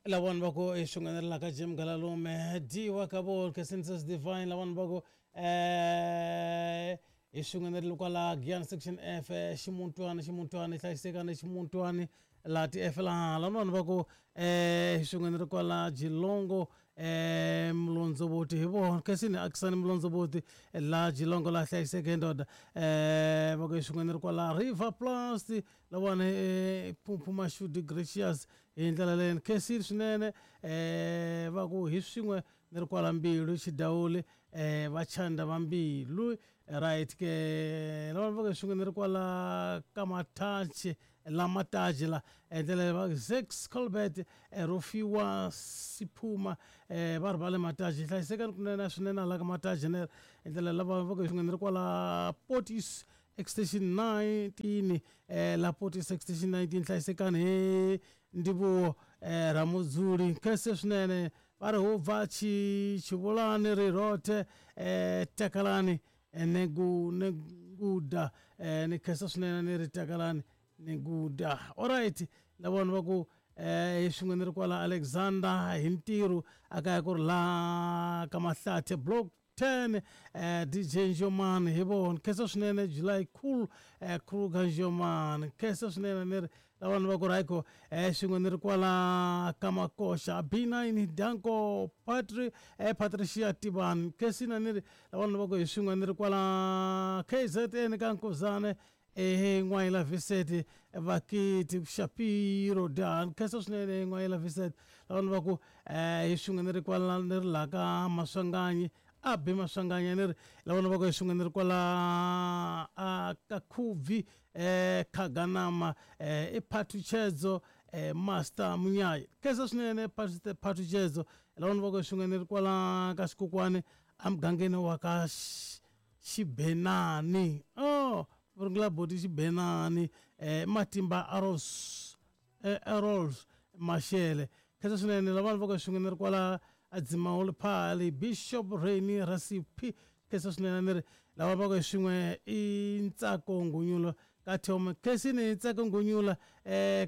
Lavani va ku i swin'wana ka Jim Galalume dyiwa ka vo Census Divine lavani va ku hi swin'wana ri kwala Giyani section F ximuntwani ximuntwani hlayisekani ximuntwani laha ti F laha lavani va ku hi swin'wana ri kwala Jilongo Mulondzovoti hi vona Khensini Akisani Mulondzovoti laha Jilongo laha hlayiseke ndoda va ku hi swin'wana ri kwala River Plus lavani Phuphu Mashudu Gracious Hi ndlela leyi ni khensile swinene um va ku hi swin'we ni ri kwala mbilu xidawuli um va chanda va mbilu right ke lava va ku swin'we ni ri kwala ka mathachi la mataji la hi ndlela va Zex Colbert Rofhiwa Siphuma um va ri va le mataji hlayisekani kunene swinene hala ka mataji ne hi ndlela lava va ku hi swin'we ni ri kwala Portis Extension 19 eh, la Portis Extension 19 hlayisekani hi Ndivhuwo eh, Ramudzuli nkhense swinene va ri ho bva tshi tshivhulani ri rothe eh, takalani eh, ne gu ne guda eh, ni khensa swinene ni ri takalani ni guda alright lavona va ku eh, hi swin'we ni ri kwala Alexander hi ntirho a kaya ku ri la ka Mahlathe block 10 DJ Njomani hi vona khensa swinene July cool Kruger Njomani khensa swinene ni ri lavanhu va ku rhayiko swin'we ni ri kwala ka Makoxa B9 Danko Patri Patricia Tibani khensina ni ri lavanhu va ku hi swin'we ni ri kwala KZN ka Nkuzane ehe N'wayila Vincent Vakiti Shapiro Dan khensa swinene N'wayila Vincent lavanhu va ku hi swin'we ni ri kwala ni ri laha ka Maswanganyi a bi Maswanganyi ni ri lavanhu va ku hi swin'we ni ri kwala a ka Khubvi Khaganama i Phathutshedzo Master Munyayi khensa swinene Phathutshedzo lavanhu va ku hi swin'we ni ri kwala ka Xikokwani emugangeni wa ka Xibenani oh rungula boti Xibenani Matimba Arrows Errols Mashele khensa swinene lavana va ka swin'we ni ri kwala Adzimahole Phali Bishop Rainy Rasipi khensa swinene ni ri lava va ka swin'we i Ntsako Ngunyulo ka Thome khensini Ntsako Ngunyula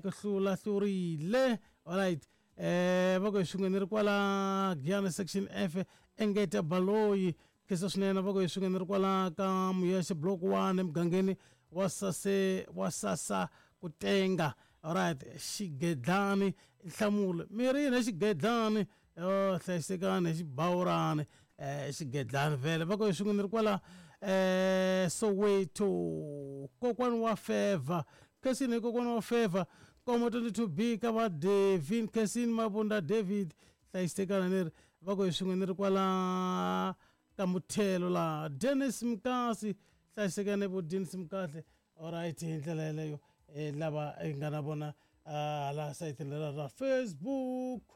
ku hlula hlurile alright va ku swin'we ni ri kwala Giyani section F Engeta Baloyi Khensa swinene va ku hi swin'we ni ri kwala ka Muyexe block 1 emugangeni wa Sase wa Sasa ku tenga alright xigedlani nhlamulo mi ri yini xigedlani oh hlayisekani xibawurani xigedlani vhele va ku hi swin'we ni ri kwala Soweto kokwani wa Favor Khensini hi kokwani wa Favor Nkomo 22 B ka va Devin Khensini Mabunda David Hlayisekana ni ri va ku hi swin'we ni ri kwala ka muthelo laha Dennis Mkasi hlayisekane vo Dennis Mkahle alright hi ndlela yeleyo lava hi nga na vona hala sayitini lera ra Facebook.